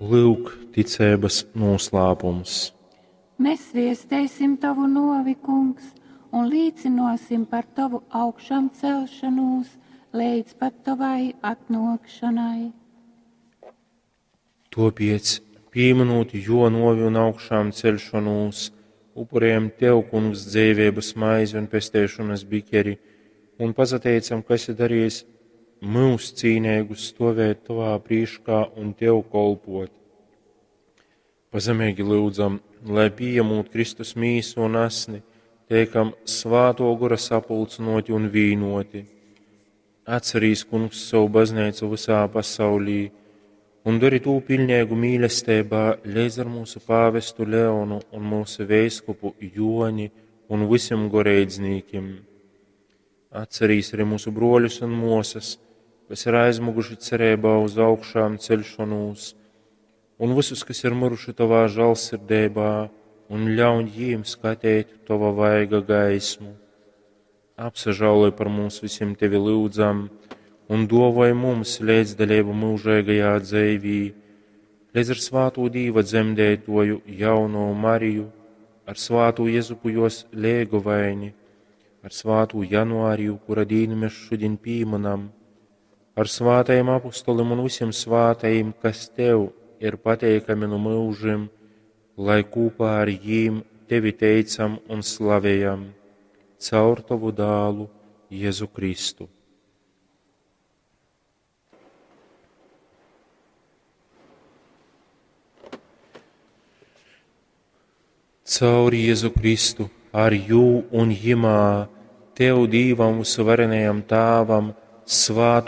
Lyuk, ticeibas nūslāpums. Mēs viesteisim tovu nōvi, Kungs, un līcynōsim par tovu augšamcelšonūs leidz pat tovai atnōkšonai. Tōpēc, pīmynūt jō nōvi un augšām ceļšonūs, upurējam tev, Kungs, dzeiveibas maizi un pesteišonas bikeri, un pasateicam, ka esi darījis myus cīneigus stovēt tovā prīškā un tev kolpot. Pazemeigi lyudzam, lai pījemūt Kristus mīsu un asni, teikam svātō gora sapulcynōti un vīnoti. Atcerīs, Kungs, savu bazneicu visā pasaulī un dari tū piļneigu mīlesteibā leidz ar mūsu pāvestu Leonu un mūsu veiskupu Joni un visiem goreidznīkim. Atcerīs arī mūsu broļus un mosas, kas ir aizmuguši cerībā uz augšām ceļšanos, un visus, kas ir miruši tavā žēlsirdībā, un ļauj jīm skatīt tava vaiga gaismu. Apsažāloj par mums visiem tevi lūdzam, un dovoj mums līdzdalību mūžīgajā dzīvī, līdz ar svāto Dīva dzemdētoju jauno Mariju, ar svāto Jezupu jos lēgovaini, ar svāto Januāriju, kura dīnu mēs šodien pīminam, ar svātajiem apustolim un visiem svātajiem, kas tev ir pateikami no mūžiem, lai kopā ar jīm tevi teicam un slavējam, caur tavu dālu Jēzu Kristu. Caur Jēzu Kristu, ar jū un jimā, tev Dīvam visvarenajam Tāvam, svātu